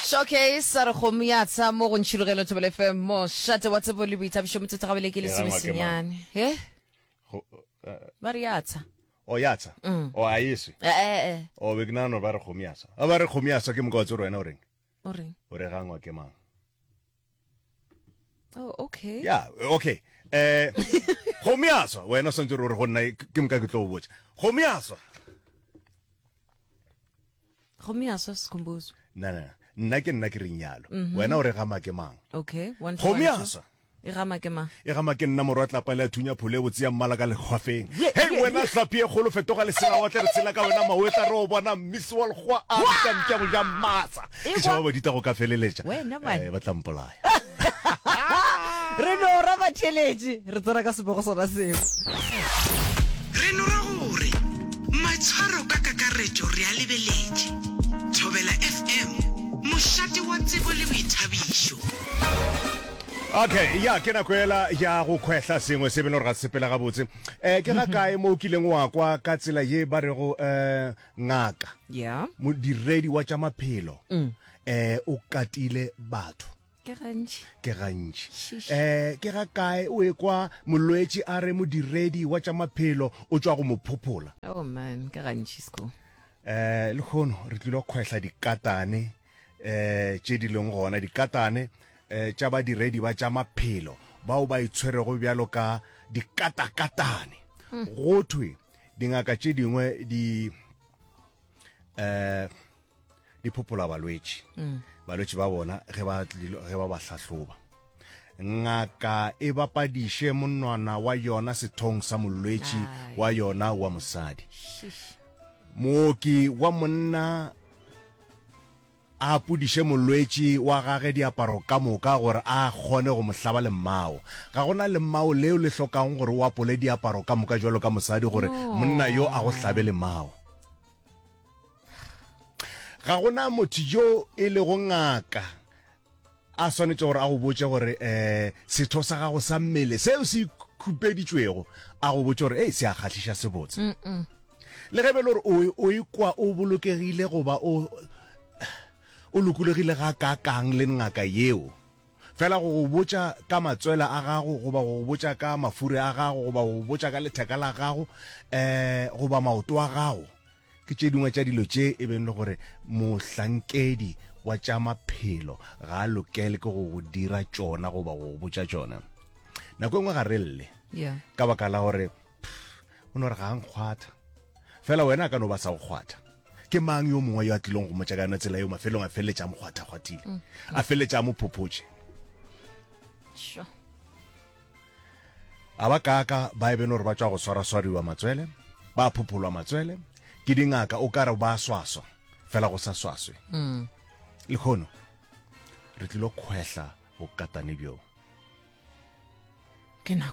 Showcase sa re kgomo ya tsha mo go Ntšhilogelo Thobela FM mošate wa tsebo le boithabišo metsotso gabele ke E gangwa ke mang? lesomesenyane he Go- eh, ba re ya tsha o ya tsha o a eswe Eh, eh, eh. o be ke nagana gore ba re kgomo ya swa a ba re kgomo ya swa ke moka wa tsere wena o reng o reng o re gangwa ke mang oh okay ya okay eh kgomo ya swa wena o swantse o re go nna ke moka ke tlo go botša kgomo ya swa Kgomo ya swa Sikhumbuzo. Na na nna ke nna ke reng yalo. Mm -hmm. Wena o re gama ke mang? Okay, one Kgomo ya swa. E gama ke mang? E gama ke nna morwa tlapa le a thunya phole botse ya mmala ka lekgwafeng. Hei wena hlapi e kgolo fetoga lesela wa tle re tshela ka wena mawetla re o bona mmisi wa lekgwa a bitsa mpša go ja mmatsa. Ke tšhaba badita go ka feleletša. Wena man. Eh, ba tla mpolaya. Re no ra batheeletši, re tsena ka sebego sona seo. Re no ra gore maitshwaro ka kakaretšo re a lebeletše. Thobela FM, mošate wa tsebo le boithabišo. Okay, ya ke nako ela ya go khwehla sengwe se bene gore ga se sepela gabotse. Eh ke ga kae mo o kileng wa kwa ka tsela ye ba rego eh ngaka, Yeah. modiredi wa tša maphelo eh o katile batho. Ke gantši. Ke gantši. Sheesh. Eh, ke ga kae o ekwa molwetši a re modiredi wa tša maphelo o tšwa go mo phophola? Oh man, ke gantši sko. Eh, lehono re tlilo kgwehla dikatane eh tše di leng gona, dikatane eh tša badiredi ba tša maphelo bao ba itshwerego bjalo ka dikatakatane. Go thwe dingaka tše dingwe di eh di phophola balwetši mm. balwetši ba bona ge ba ge ba ba hlahloba ngaka e bapadiše monwana wa yona sethong sa molwetši wa yona wa mosadi mooki wa monna a apodiše molwetši wa gage diaparo ka moka gore a kgone go mo hlaba lemmao ga gona lemmao leo le hlokang gore o apole diaparo ka moka jwalo ka mosadi gore monna yo a go hlabe lemmao Ga go na motho yo e lego ngaka a swanetše gore a go botše gore um setho sa gago sa mmele seo se khupeditšwego a go botše gore ei se a kgahliša sebotse. Le ge e be le gore o o ikwa o bolokegile goba o o lokologile gakaakang le ngaka yeo, fela go go botša ka matswele a gago goba go go botša ka mafuri a gago goba go go botša ka letheka la gago um goba maoto a gago ke tše dingwe tša dilo tše e beng le gore mohlankedi wa tša maphelo ga a lokele ke go go dira tšona goba go go botša tšona. Nako e nngwe ga re lle ka baka la gore o no re ga a nkgwatha, fela wena a ka no ba sa go kgwatha. Ke mang yo mongwe yo a tlilong go mmotša ka yona tsela yeo mafelong a feleletša a mo kgwatha-kgwathile, a feleletša a mo phophotše? Sure. A ba kaaka ba e bene gore ba tšwa go swaraswariwa matswele, ba phopholwa matswele ke dingaka, o ka re ba swaswa, fela go sa swaswe. Lehono re tlilo kgwehla bokatane bjo. Ke nako.